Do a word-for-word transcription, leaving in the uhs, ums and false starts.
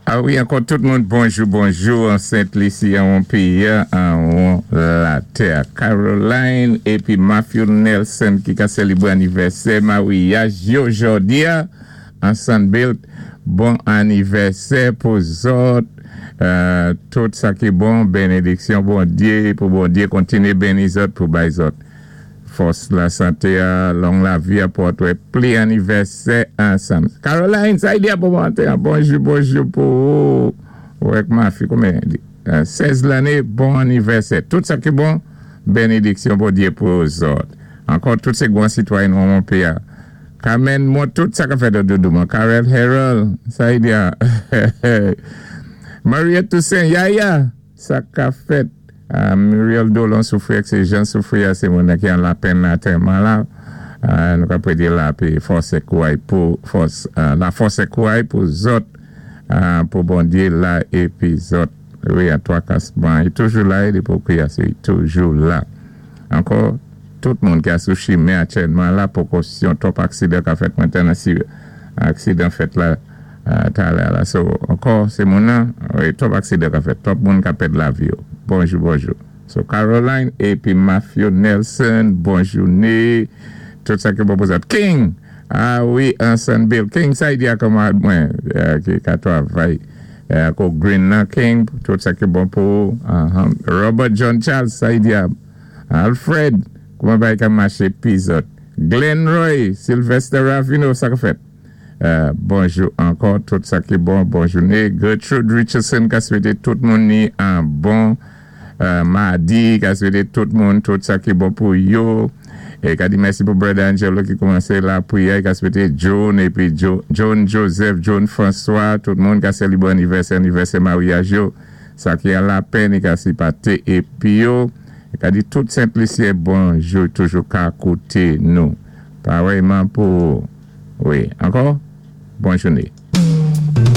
A wi, ankò tout moun, bonjou, bonjou, an Sent Lisi, an péyi, an latè. Caroline épi Matthew Nelson ki ka sélébwé anivèsè maryaj yo jòdi a, an Sunbelt. Bon anivèsè pou zòt. Euh, tout sa ki bon, bénédiksyon Bondyé, pou Bondyé kontiné béni zòt, pou bay zòt fòs, lasanté, long lavi, pou wè pli anivèsè ansanm. Caroline, sa i di pou mwen, bonjou, bonjou pou ou ak Matthew, konbyen? sèz lanné, bon anivèsè. Tout sa ki bon, bénédiksyon Bondyé pou zòt. Ankò, tout sé gwan sitwayen nan péyi. Carmen, mwen, tout sa ka fèt doudou, mwen. Karel Harold, sa i di. Maria Toussaint, Yaya, sa ka fèt. Uh, Muriel Dolon soufri, sé Jean soufri, sé moun ki an lapenn antèman la. Uh, nou ka prédé lapè, fòs é kouray pou fòs, uh, la fòs é kouray pou zòt, uh, pou Bondyé la épi zòt. Wi, a twa kasman. I toujou la, li pou kwiyé, toujou la. Ankò, tout moun ki a sou chimen aktyèlman la, pwékosyon, twòp aksidan ka fèt mentnan, si aksidan fèt la, talè la. So, ankò, sé moun nan, wi, twòp aksidan ka fèt, twòp moun ka pèd lavi yo. Bonjou, bonjou. So, Caroline épi Matthew Nelson, bonjouné. Tout sa ki bon pou zòt. King! A wi, ansanm Bill. King, sa i di a kanmarad mwen, ki ka twavay. Ko Green nan King, tout sa ki bon pou. Robert John Charles, sa i di a. Alfred, kouman bay ka maché pi zòt. Glenn Roy, Sylvester Ravino, sa ka fèt. Bonjou ankò, tout sa ki bon, bonjouné. Gertrude Richardson, ka swété tout moun ni an bon madi, ka swété tout moun, tout sa ki bon pou yo. É ka di mèsi pou Brother Angelo ki koumansé lapriyè, ka swété John, épi John Joseph, John François, tout moun ka sélébwé anivèsè, anivèsè maryaj yo, sa ki an lapenn, ka sipaté épi yo, ka di tout Sent Lisyen bonjou, toujou ka kouté nou. Parèyman pou, wi, ankò, bonjouné.